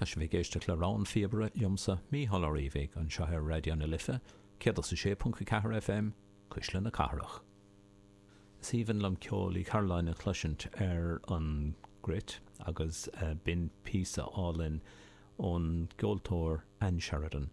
Tá sibh ag éisteacht le Rogha an Phíobaire liomsa, Mícheál Ó Riabhaigh, anseo ar Raidió na Life, 106.4 FM, Cuisle na Cathrach. Is aoibhinn liom ceol Uí Chairealláin a chloisint ar an gcruit agus b'in píosa álainn ón gceoltóir Ann Sheridan.